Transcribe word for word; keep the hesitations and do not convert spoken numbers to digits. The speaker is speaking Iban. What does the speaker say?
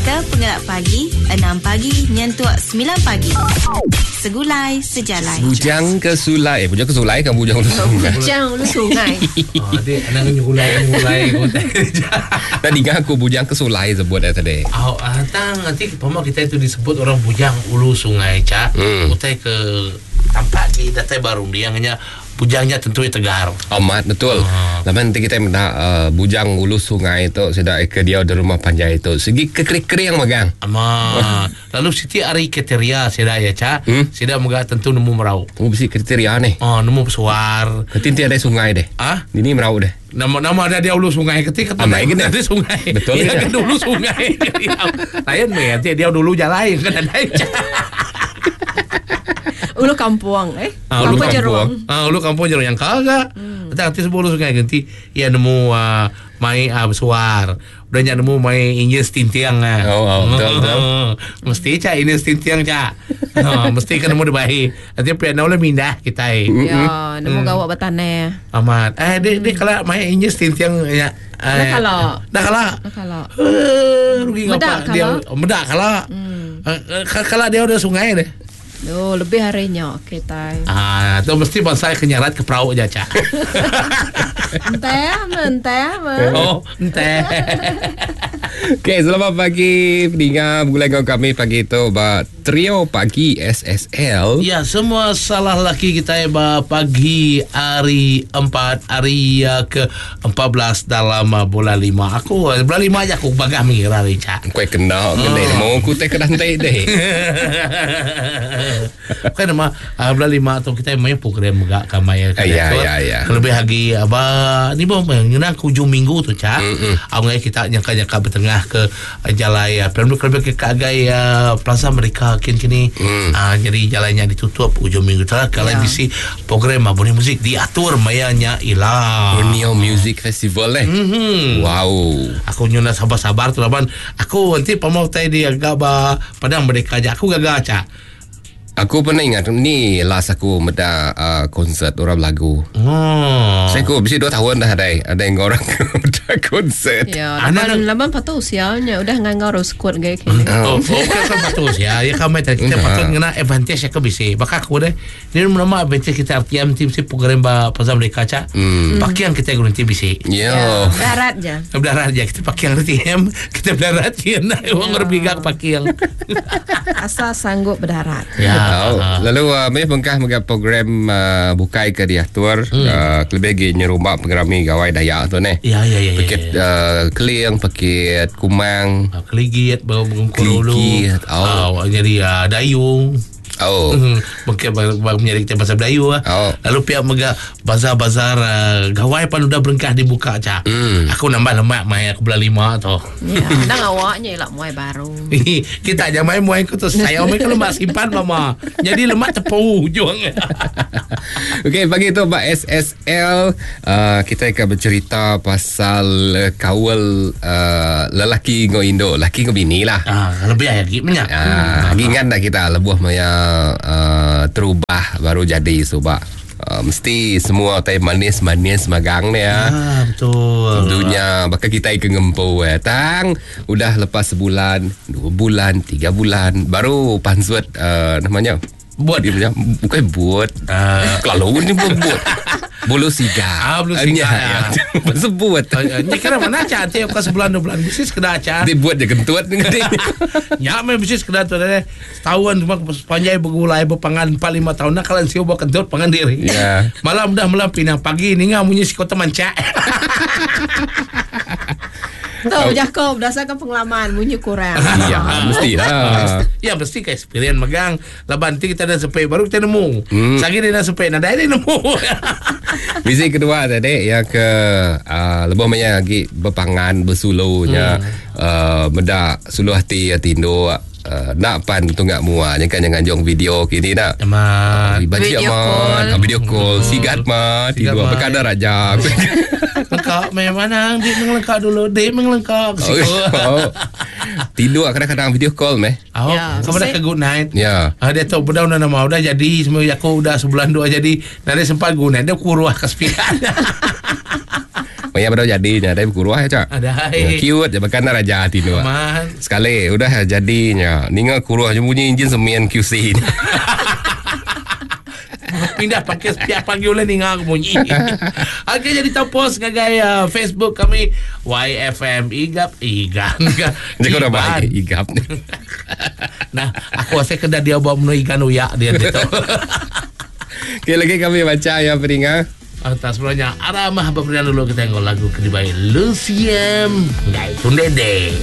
Naka pengelak pagi, enam pagi nyentuk sembilan pagi. Segulai sejalai. Bujang ke sulai. Eh, bujang ke sulai kan bujang ke sungai. Bujang ulu sungai. Oh, adik, anak nyulai nyulai. Tadi kan aku bujang ke sulai sebut dah tadi. Oh, ah, tang nanti pama kita itu disebut orang bujang ulu sungai cak. Hmm. Utai ke tampak di datai baru dia hanya bujangnya tentu tegar. Amat betul. Ah. Laman nanti kita minta uh, bujang ulu sungai itu sudah ke dia di rumah panjai itu. Segi kekering-kering magang. Ama. Lalu siti ari kriteria sida ya cak. Hmm? Sida moga tentu nemu merau. Oh, bisi kriteria ni. Oh, nemu pesuar. Ketinti ada sungai deh. Ah? Ini merau deh. Nama nama ada dia ulu sungai ketika Amai kena. Ada sungai. Betul ya, kena. kan dulu sungai. Lain meh nanti dia dulu jalan kan ada. Ulu kampung eh. Ah, ulu kampung kampung. jerung. Ah, ulu kampung jerung yang kagak. Hmm. Nanti sebelum sungai ganti ya nemu uh, mai uh, bersuar. Udah nyak nemu mai injil setintiang ah. Oh, oh, betul, betul. Mesti cak ini setintiang cak. Oh, mesti kan nemu dibahi. Nanti pian boleh mindah kita. Eh. Ya, nemu gawak bertanah. Amat. Eh, dia, dia kalau mai injil setintiang ya. Dah Eh, kalau. Dah kalau. Dah kalau. Eh, rugi Medak ngapa dia. kalau. Medak kalau. Hmm. Kalau dia udah sungai deh. Oh, lebih harinya kita. Ah, tu mesti bangsa kenyarat ke perahu je cak. Entah, mentah, meh. Oh, entah. Okey, selamat pagi pendengar bergulai dengan kami pagi itu ba trio pagi S S L. Ya, semua salah laki kita ya ba pagi hari empat hari uh, ke empat belas dalam uh, bulan lima. Aku uh, bulan lima aja aku bagah mengira hari cak. Kau kena kena mau ku teh kedah entai deh. Bukan nama uh, bulan lima tu kita main program megak kamai. Eh, ya, ya, ya. Lebih lagi aba ni bom ngenang ke hujung minggu tu cak. Awal kita nyangka-nyangka bertengah ke uh, jalai uh, perlu lebih ke agai uh, Plaza Mereka kin kini. Mm. Uh, jadi jalannya ditutup hujung minggu tu lah. Kalau Ya. bisi program uh, bunyi muzik diatur mayanya ilah. Borneo Music Festival eh. Mhm. Wow. Aku nyuna sabar-sabar tu laban. Aku nanti pamau tai di agak ba Padang Merdeka aja. Aku gagal cak. Aku pernah ingat ni last aku meda uh, konsert orang lagu. Oh. Saya aku mesti dua tahun dah ada ada yang orang meda konsert. Ya, Anak- laban laban patut usianya udah nganggar squad gaya kini. Oh, oh kan kan patut ya. Ya kami tadi kita Nah. patut ngena advantage ya ke bisi. Bakal aku deh. Ni nama advantage kita R T M tim si program ba pasal mereka cak. Hmm. Pakai yang kita guna tim bisi. Yo. Ya, darat je. Berdarat aja kita pakai yang R T M, kita berdarat ya. Nah, orang ngerbiga pakai yang. Asal sanggup berdarat. Ya. Oh, lalu uh, meh bengkah mega program uh, bukai ke diatur hmm. uh, lebih lagi nyerumba pengerami gawai Dayak tu ni. Ya ya ya. ya, Paket ya. uh, keling, paket kumang. Ah, Keligit, bau bengkulu dulu. Keligit, oh. Oh, jadi ah, dayung. Oh. Hmm, mungkin bang, bang menjadi kita bahasa Melayu ah. Oh. Lalu pihak mega bazar-bazar uh, gawai pan udah berengkah dibuka cak. Hmm. Aku nambah lemak mai aku belah lima tu. Ya, nang awaknya elak muai baru. Kita aja main muai ku tu saya mai kalau lemak simpan mama. Jadi lemak tepu hujung. Okey, pagi tu Pak S S L uh, kita akan bercerita pasal uh, kawal uh, lelaki ngau induk, laki ngau bini lah. Ah, lebih lagi minyak. Ah, lagi ingat tak kita lebuh maya uh, terubah baru jadi subak. Uh, mesti semua tai manis-manis magang ni ya. Ah, betul. Tentunya bakal kita ke ngempu eh. Tang udah lepas sebulan, dua bulan, tiga bulan baru pansut uh, namanya Buat. dia punya bukan buat. Ah. Kalau ni buat buat. Bulu siga. Ah, bulu siga, Ya, ya. ya. Sebut. Ah, Ni kira mana cak nanti aku sebulan dua bulan mesti sekedar cak. Dia buat je kentut ni. Nyak meh mesti sekedar tu deh. Setahun cuma sepanjang bergulai berpangan empat lima tahun nak kalian siu buat kentut pangan diri. Ya. Malam dah malam pinang pagi ni ngah bunyi si kota mancak. Tu Jacob berdasarkan pengalaman bunyi kurang. Ya, mestilah. Ya mesti ke experience megang. Laban nanti kita dah sampai baru kita nemu. Hmm. Sagi dia dah sampai nadai dia nemu. Misi kedua tadi yang ke uh, lebih banyak lagi berpangan bersulunya hmm. uh, medak suluh hati hati induk uh, nak pan tunggak mua jangan jangan jong video kini nak Amat. Baji Video amat call. Ah, video call sigat ma Sigat tidur ma. berkadar aja. Lengkap memang dik mengelengkap dulu, dik mengelengkap. Oh. Tidur kadang-kadang video call meh. Oh, Ya, kamu dah ke good night. Ya. Ah, dia tahu benda nama udah jadi semua aku udah sebulan dua jadi nanti sempat guna dia kuruah ke sepian. Maya baru jadinya ada berkuruh ya cak. Ada. Ya, cute je bahkan raja tinduk. Man. Sekali udah jadinya ninga kuruh je bunyi enjin semen Q C ni. Pindah pakai setiap pagi oleh ninga aku bunyi. Okey, jadi tahu post ngagai uh, Facebook kami Y F M Igap Igan. Jadi kau dah baik Igap ni. Nah, aku rasa kena dia buat menu ikan uyak dia tu. Okey, lagi kami baca ya peringa. Atas sebenarnya aramah berperian dulu kita tengok lagu kedibai Luciem Ngai Tundede.